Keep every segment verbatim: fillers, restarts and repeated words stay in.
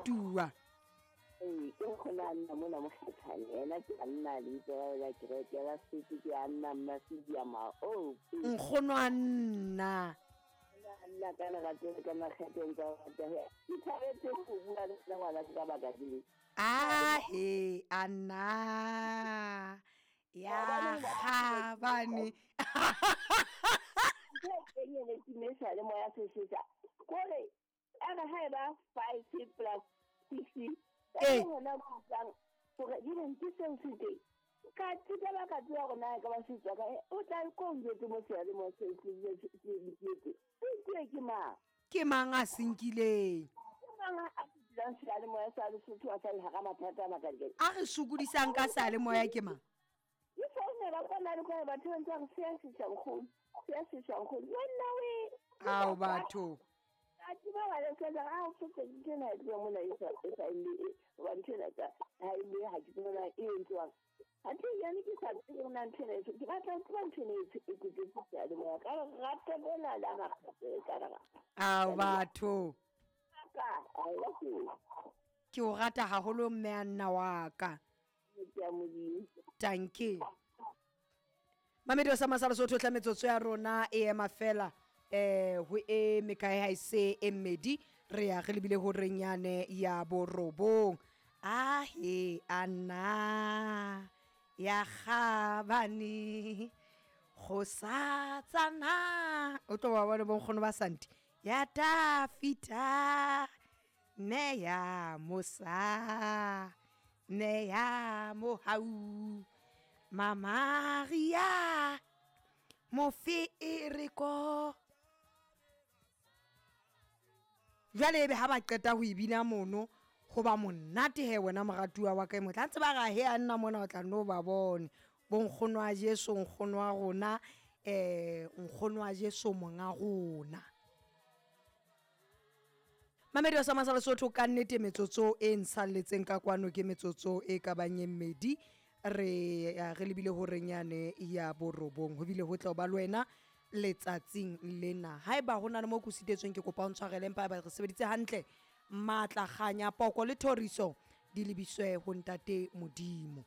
Moratuwa. Ee, ke nkgono a nna mona Mokgatshane. Yena ke a nna lebitso la la kereke la Sotho ke a nna Mmasidi ma. Oh, Nkgono a nna. Nna ka lerato le ka makgetheng tsa rata. Ke thabetse ho bua le wena ngwana ka baka le. Ah he anna ya kgabane. Ntho e kenyeletseng e sa le moya se sesa. Kore a re ha eba five plus six Ee. ka hona ba utlwang hore di ne ke seo se teng. Ka tseba ba ka tseba hore na e ka ba se tswa kae. O tla ko njwetse mo seyalemoya se se se se se ke mang? Ke mang a se nkileng? Ke mang a se dulang seyalemoya sa Lesotho a sa le hara mathata a makalekale? A re sokodisang ka seyalemoya ke mang? Ke founela kwana le kwana batho ba ntse ba re se a sesa nkgono, se a sesa nkgono. Yo nna we. Ao batho. Ka tseba ba le tsela a o fetse ntho ena e tloha mona e sa e sa e hoba ntho ena ka ha e le ha ke tsebe na e entswang. Athe yane ke sa tsebe hore na ntho ena e ke batla ho tseba ntho ena e e kutlwetse seyalemoya ka lerato lena la makgapetla ka lerato. Ao batho. Ka I love you. Ke o rata haholo mme a nna wa ka. Ke a Modimo. Tanki. Mamedi wa sa Lesotho tla metsotso ya rona e ema fela eh ho e mekae ha e se e mmedi re ya re lebile ho renyane ya borobong. Ah he anna ya kgabane go sa tsana o tlo ba bona bonkgono ba Santi ya Tafita ne ya Musa ne ya Mohau Mamaria Mofereko. Jwale ebe ha ba qeta ho ibina mono ho ba monate he wena moratuwa wa ka e motle. Ha ntse ba ra he a nna mona o tla no ba bone. Bonkgono wa Jesu nkgono wa rona eh nkgono wa Jesu monga rona. Mamedi wa sa Lesotho ka nnete metsotso e nsalletseng ka kwano ke metsotso e ka bang e mmedi re re lebile ho renyane ya borobong ho bile ho tla ba le wena letsatsing lena. Haeba ho na le mo ko sitetsweng ke kopa o ntshwarele empa haeba re sebeditse hantle matla kganya poko le thoriso di lebiswe ho ntate Modimo.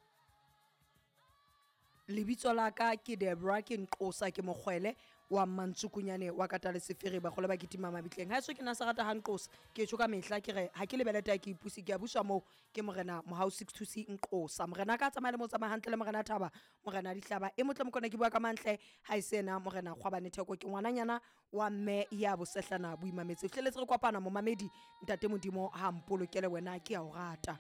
Lebitso la ka ke Debra ke Nqosa ke mokgwele wa Mantsukunyane wa Katale Sefere ba kgole ba kitima mabitleng. Ha eso ke na sa rata ha Nqosa ke tjho ka mehla ke re ha ke lebelete ha ke ipuse ke a buswa moo ke morena Mohau six two C Nqosa. Morena ka tsamaya le mo tsamaya hantle le morena Thaba morena Dihlaba e motle mokona ke bua ka mantle ha e sena morena Kgwabane Theko ke ngwananyana wa mme ya bosehlana boimametse. Hleletse re kopana momamedi ntate Modimo ha mpolokele wena ke a o rata.